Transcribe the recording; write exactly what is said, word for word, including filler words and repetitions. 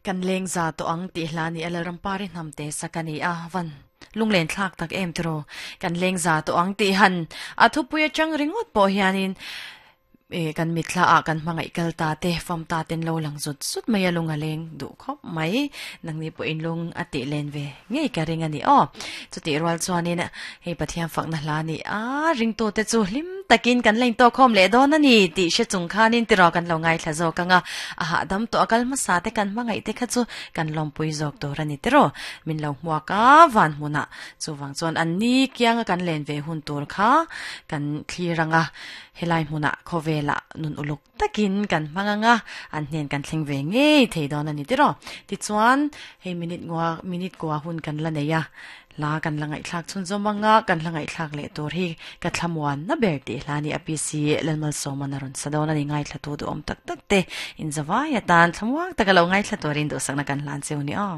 Kan leng za to ang ti hla ni alal rampari hnam te sakani a van lunglen thlak tak em tro kan leng za to ang ti han a thupuia chang ringot po hianin e kan mitla a kan mangai kal ta te fam ta ten lo lang zut zut mai alung aleng du khop mai nangni po in lung ati len ve ngei ka ring ani o chuti rual chuanin hei pathian fak na hla ni a ring to te chu hlim takin kan lein to khom le don ani ti she chung khanin ti ro kan lo ngai thla zo kanga a ha dam to akal ma sa te kan mangai te kha chu kan lom pui zok to rani te ro min lo hmuaka van hmuna chuwang chuan an ni kianga kan len ve hun tur kha kan thliranga helai hmuna khowela nun uluk takin kan manganga an hnen kan thleng ve ngei thei don ani tiro ti chuan hei minute ngwa minute kwa hun kan la neia la kan langai thlak chun zomanga kan langai thlak le tur hi ka thlamuan na ber ti hlani apc lalmal soma na ron sadona ni ngai thla tu du om tak tak te in zawai atan thlamuak takalo ngai thla turin du sakna kan hlan cheu ni o.